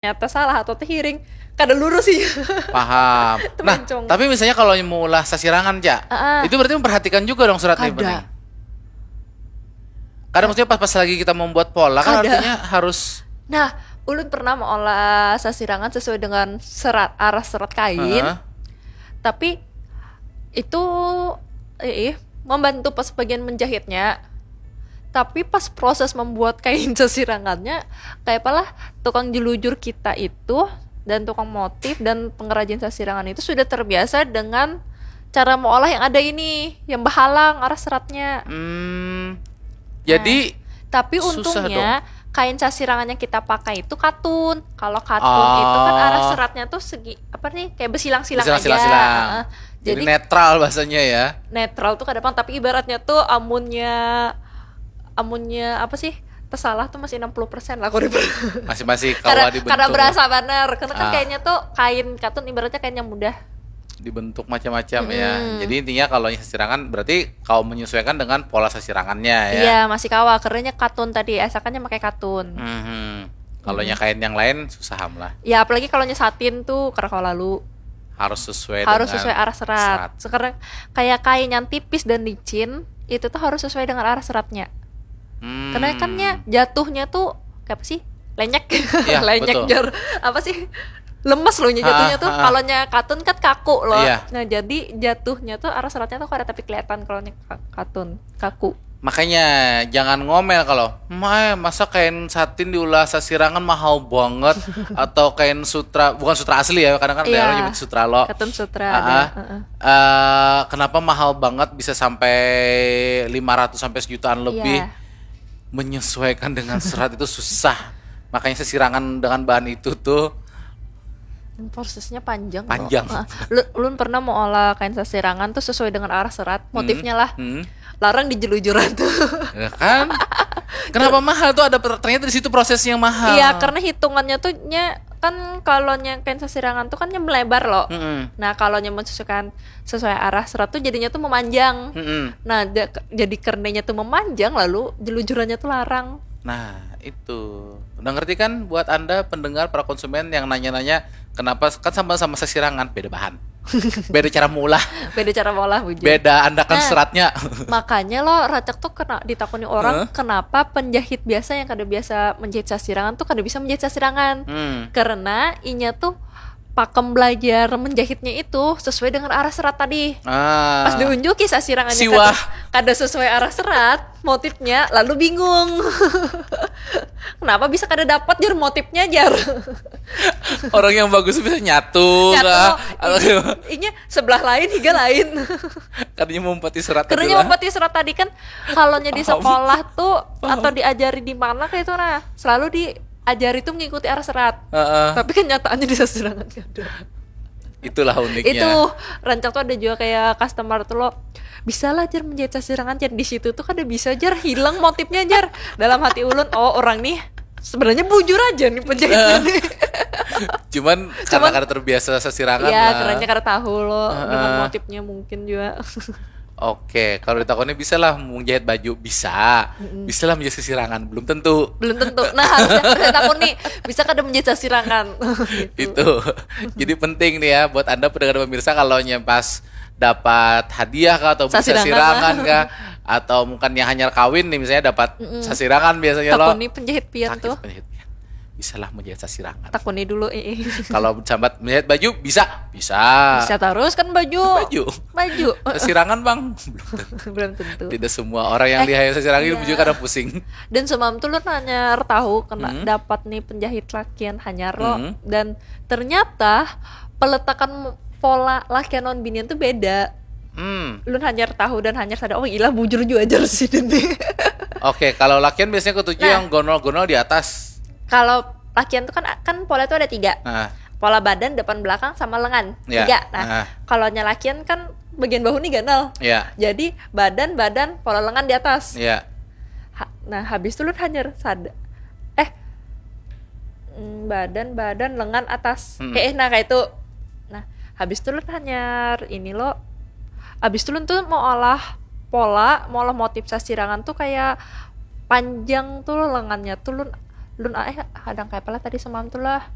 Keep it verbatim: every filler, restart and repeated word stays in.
ternyata salah atau tehiring, kada lurus sih. Paham. Nah, Temencong. Tapi misalnya kalau mau ulah sasirangan, Ca, Ah, ah. Itu berarti memperhatikan juga dong surat nih, Kada. penting. Kada, maksudnya pas pas lagi kita membuat pola kan Kada. Artinya harus Nah, ulun pernah mengolah sasirangan sesuai dengan serat, arah serat kain. Heeh. Tapi itu eh, membantu pas bagian menjahitnya. Tapi pas proses membuat kain sasirangannya, kayak apalah tukang jelujur kita itu dan tukang motif dan pengrajin sasirangan itu sudah terbiasa dengan cara mengolah yang ada ini, yang bahalang arah seratnya. Hmm, jadi Tapi Susah untungnya kain sasirangan yang kita pakai itu katun. Kalau katun Oh. itu kan arah seratnya tuh segi apa nih, kayak bersilang-silang aja. Bersilang-silang. Heeh. jadi, Jadi netral bahasanya ya. Netral tuh kada pang, tapi ibaratnya tuh amunnya amunnya apa sih, tersalah tuh masih enam puluh persen lah, kalau di- Masih-masih kada kawa dibentuk. Kada berasa banar karena kan Ah. Kayaknya tuh kain katun ibaratnya kain yang mudah. Dibentuk macam-macam ya. Mm-mm. Jadi intinya kalau sasirangan berarti kau menyesuaikan dengan pola sasirangannya ya. Iya, masih kawa, keranya katun tadi, asakannya pakai katun. Mhm. Kalau nya kain yang lain susah am lah. Ya apalagi kalau nya satin tuh kada kawa lalu. Harus sesuai Harus dengan sesuai arah serat. Sekarang kayak kain yang tipis dan licin itu tuh harus sesuai dengan arah seratnya. Hmm. Karena kan nya jatuhnya tuh kayak apa sih? Lenyek. Iya, Lenyek betul. Jar. Apa sih? Lemes loh nya jatuhnya Ah, tuh. ah. Kalau nya katun kan kaku loh. Iya. Nah, jadi jatuhnya tuh arah seratnya tuh kada tapi kelihatan kalau nya ka- katun, kaku. Makanya jangan ngomel kalau, "Mae, masa kain satin diulah sasirangan mahal banget?" Atau kain sutra, bukan sutra asli ya, kadang kan ada Iya. orang nyebut sutra lo. Katun sutra Ah, ada. ah. Heeh. Eh, kenapa mahal banget bisa sampai lima ratus sampai sejutaan lebih? Iya. Menyesuaikan dengan serat itu susah. Makanya sasirangan dengan bahan itu tuh Prosesnya panjang. Loh. Panjang. Ah, lu, ulun pernah mau olah kain sasirangan tuh sesuai dengan arah serat, motifnya lah. Hmm. Larang di jelujuran tuh. Ya kan? Kenapa mahal tuh ada per- ternyata di situ prosesnya mahal. Iya, karena hitungannya tuh nya kan kalau nya kain sasirangan tuh kan nya melebar loh. Mm-mm. Nah, kalau nya mensesuaikan sesuai arah serat tuh jadinya tuh memanjang. Mm-mm. Nah, da- jadi karenanya tuh memanjang lalu jelujurannya tuh larang. Nah, itu. Udah ngerti kan buat Anda pendengar para konsumen yang nanya-nanya kenapa kan sama-sama sasirangan beda bahan. Beda cara maulah. Beda cara maulah bujur. Beda andakan Nah. Seratnya. Makanya lo rancak tuh kena ditakuni orang Hah? Kenapa penjahit biasa yang kada biasa menjahit sasirangan tuh kada bisa menjahit sasirangan. Hmm. Karena inya tuh pakem belajar menjahitnya itu sesuai dengan arah serat tadi. Ah. Pas diunjuki sasirangannya Siwah. kada, kada sesuai arah serat, motifnya lalu bingung. Kenapa bisa kada dapat jar motifnya jar? Orang yang bagus bisa nyatu, Nyatu, kah? ini, inya sebelah lain higa lain. Katanya mau empati serat Karena adalah- empati serat tadi kan kalau nya di Paham. Sekolah tuh Paham. Atau diajari di mana kayak itu nah selalu diajari tuh mengikuti arah serat. Heeh. Tapi kenyataannya di sasirangan kada. Itulah uniknya. Itu rancak tuh ada juga kayak customer tuh lo bisa lah jar menjahit sasirangan jar di situ tuh kada bisa jar hilang motifnya jar dalam hati ulun oh orang nih sebenarnya bujur aja nih penjahitnya Eh. nih. Cuman karena Cuman- kada terbiasa sasirangan Ya lah. Karena kada tahu lo dengan Heeh. motifnya mungkin juga. Oke, kalau ditakoni bisa lah menjahit baju bisa. Bisa lah menjahit sasirangan belum tentu. Belum tentu. Nah harusnya harusnya takuni bisa kada menjahit sasirangan. Itu. Jadi penting nih ya buat Anda pendengar pemirsa kalau nya pas dapat hadiah kah atau beli Sasirangan sasirangan lah. Kah atau mungkin yang hanyar kawin nih misalnya dapat sasirangan biasanya lo. Takuni penjahit pian Sakit tuh. Penjahit pian. Bisalah menjahit sasirangan. Takuni dulu ih. Kalau sambat menjahit baju bisa, bisa. Bisa terus kan baju. Baju. Baju. Sasirangan bang, belum tentu. Belum tentu. Tidak semua orang yang Eh, dihayal sasirangan Iya. baju kada pusing. Dan semalam tuh lu nanya tahu kena Hmm. dapat nih penjahit lakian hanyar lo Hmm. dan ternyata peletakan pola lakian lawan binian tuh beda. Hmm. Lu hanyar tahu dan hanyar sadar oh gila bujur juga aja sih ini. Oke, kalau lakian biasanya ketujuh Nah. Yang gonol-gonol di atas. Kalau lakian tuh kan kan pola tuh ada tiga. Nah, Pola badan, depan belakang sama lengan. Ya. Tiga. Nah, Nah. kalau nya lakian kan bagian bahu nih ganal. Ya. Jadi badan badan pola lengan di atas. Ya. Ha- nah habis itu lu hanyar sadar eh mm, badan badan lengan atas Hmm. eh eh, nah kayak itu. Nah habis itu lu hanyar ini lo habis itu lu tuh mau olah pola mau olah motif sasirangan tuh kayak panjang tuh lengannya tuh lu lu eh hadang kayak apa lah tadi semalam tuh lah